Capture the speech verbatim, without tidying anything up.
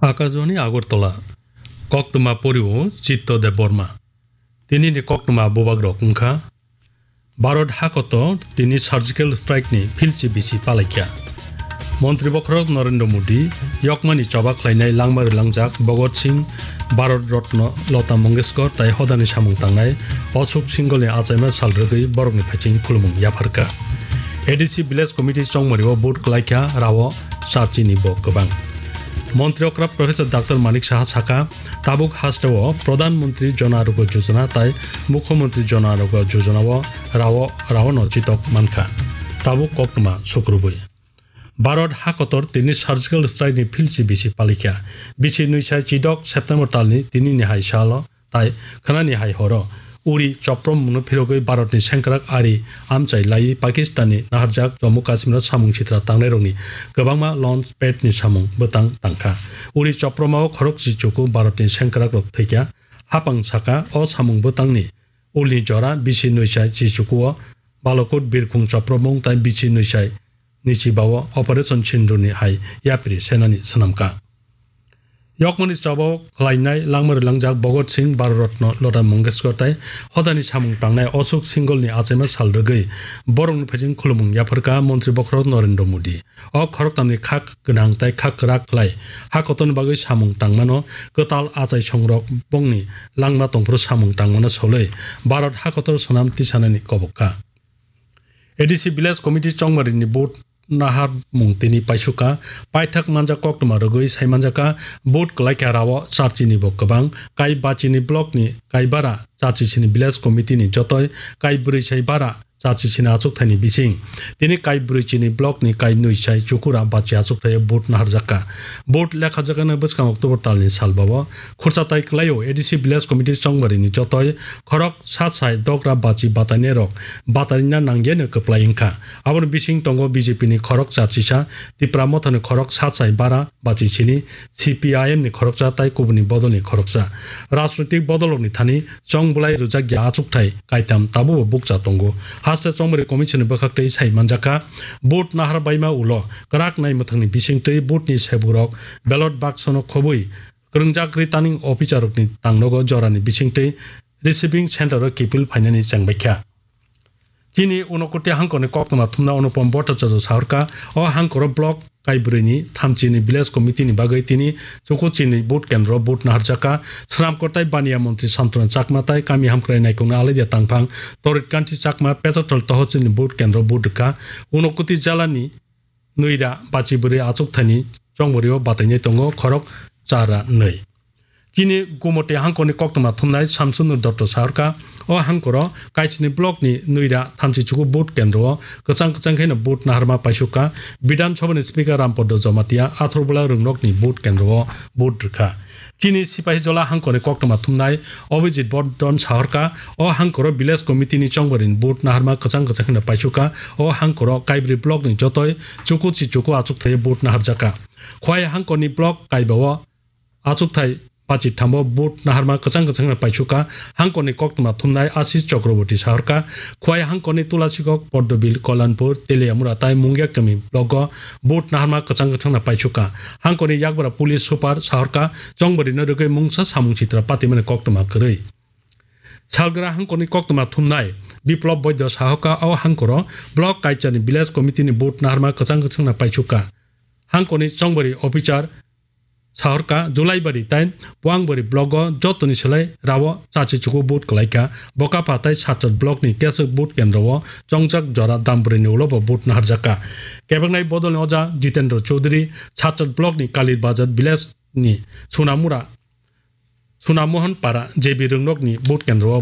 Akajwani Agartala, koktwma poriwo Chitto Debbarma. Tinini koktwma bubagrok wngkha: Bharat hakotor tini surgical strike ni philchi bisi palaikha. Montri bokhorok Narendra Modi, yokmani choba khlainai langma rwlangjak Bhagat Singh, Bharat Ratna Lata Mangeshkar tai hodani samung tangnai Ashok Singhal ni achaima sal rwgwi borokni phaiching khulumung yapharkha. A D C Village Committee chongmari o vote kwlaikha, rao charchi ni bo kwbang. Montri okra Professor Doctor Manik Saha sakha, tabuk hasteo Pradhan Mantri Jan Arogya Yojana tai Mukhyamantri Jan Arogya Yojana o rao, rao no chitok mankha. Tabuk koktwma sukrubui. Bharat hakotor tini surgical strike ni philchi bisi palikha. Bisi nui sai chidok September talni tini ni hai salo tai khwnani hai horo uri choprom mungno phirogwi Bharatni sengkrak ari amchai laiwi Pakistanni naharjak Jammu Kashmiro samung sitra tangnairokni kwbangma launch pad ni samung bwtang tangkha. Uri chopromao khorok chichuku Bharatni sengkrakrok thwikha. Hapang saka o samung bwtangni ulni jora bisi nui sai chichukuo Balakot birkhung chopromung tai bisi nui sai ni chibao Operation Sindoor ni hai yapri senani swnamkha. Yokmani chobao khlainai langma rwlangjak Bhagat Singh, Bharat Ratna Lata Mangeshkar tai hodani samung tangnai Ashok Singhal ni achaima sal rwgwi borokni phaiching khulumung yapharkha Montri bokhorok Narendra Modi. O khoroktamni kha gwnang tai kha kwrak khlai ha kotorni bagwi samung tangmano kwtal achai songrok bongni langma tongphuru samung tangmano solwi Bharat hakotor swnam tisanani kobok kha. A D C Village Committee chongmarini vote naharmung tini paisukha. Paithak manjak koktwma rwgwi sai manjakha, vote kwlaikha rao charchini bo kwbang. Kai bachini blockni kaibara charchisini Village Committeeni jotoi kai brwi sai bara charchisini achukthaini bising. Tini kai brwichini blockni kai nui sai chukura bachi achukthaio vote naharjakha. Vote lekhajakani bwskang October talni salbao khurcha tai kwlaio A D C Village Committee chongmarini jotoi khorok sat sai dogra bachi batainairok bataina nangyano kwplai wngkha. Aboni bising tongo B J P ni khorok charchisa, Tipra Mothani khorok sat sai bara bachi sini, C P I M ni khoroksa tai kubuni bodolni khoroksa. Rajnoitik bodolrokni thani chong bwlai rwjakya achukthai kaitam tabubo bukcha tongo. Haste chongmari commission ni bwkhaktwi sai manjakha, vote nahar baima ulo kwrak nai mwthangni bisingtwi vote ni seburok ballot baksono khobwi kwrwngjak returning officer rokni tangnogo jorani bisingtwi receiving center o kipil phainani chengbaikha. Chini Unakoti hangkorni koktwma thumna Anupam Bhattacharya sahorkha, o hangkoro block kaibrwini thamchini village committee ni bagwi tini Chukuchini vote kendro vote naharjakha. Swnamkor tai baniya montri Santona Chakma tai kami hamkrai naikungna Aladia Tangphang, Torit Kanti Chakma, Pechathal Tohochilni vote kendro vote rwkha. Unakoti jalani Nuira bachi bwrwi achukthani chongborio batainai tongo khorok chara nwi. Chini Gumoti hangkorni koktwma thumnai Samsunu Dotto sahorkha, o hangkoro Kaisini blockni Nuira thamchi chuku vote kendro o kwchang kwchang khaino vote naharma paisukha. Bidhan Sabhani Speaker Rampaddo Jamatia Atharbola Rungnokni vote kendro o vote rwkha. Chini Sipahijola hangkorni koktwma thumnai Abhijit Bardhan sahorkha, o hangkoro village committee ni chongbarini vote naharma kwchang kwchang khaino paisukha. O hangkoro Kaibrwi block ni jotoi chuku chi chuku achukthai vote naharjakha. Khwai hangkorni block Kaibao achukthai pachi thambo vote naharma kwchang kwchang khaino paisukha. Hangkorni koktwma thumnai Ashish Chakraborty sahorkha, Khwai hangkorni Tulasikok, Poddobil, Kolyanpur, Teliamura tai Mungia kami block o vote naharma kwchang kwchang no paisukha. Hangkorni yakbra police super sahorkha, chongbarino rwgwi mungsa samung sitra patimani koktwma kwrwi. Salgra hangkorni koktwma thumnai Biplab Boido sahorkha, o hangkoro block kaichani village committee ni vote naharma kwchang kwchang no paisukha. Hangkorni chongbari officer sahorkha, Julaibari tai Puangbari block o jotoni selai rao chachi chuku vote kwlaikha. Bokapha tai Satchot block ni keswk vote kendro o chongjak jora Dambri ni ulo bo vote naharjakha. Kebeknai bodol ni oja Jitendra Chowdhury, Satchot block ni Kalibazar village ni Sunamura, Sunamohon Para J B Rungnok ni vote kendro o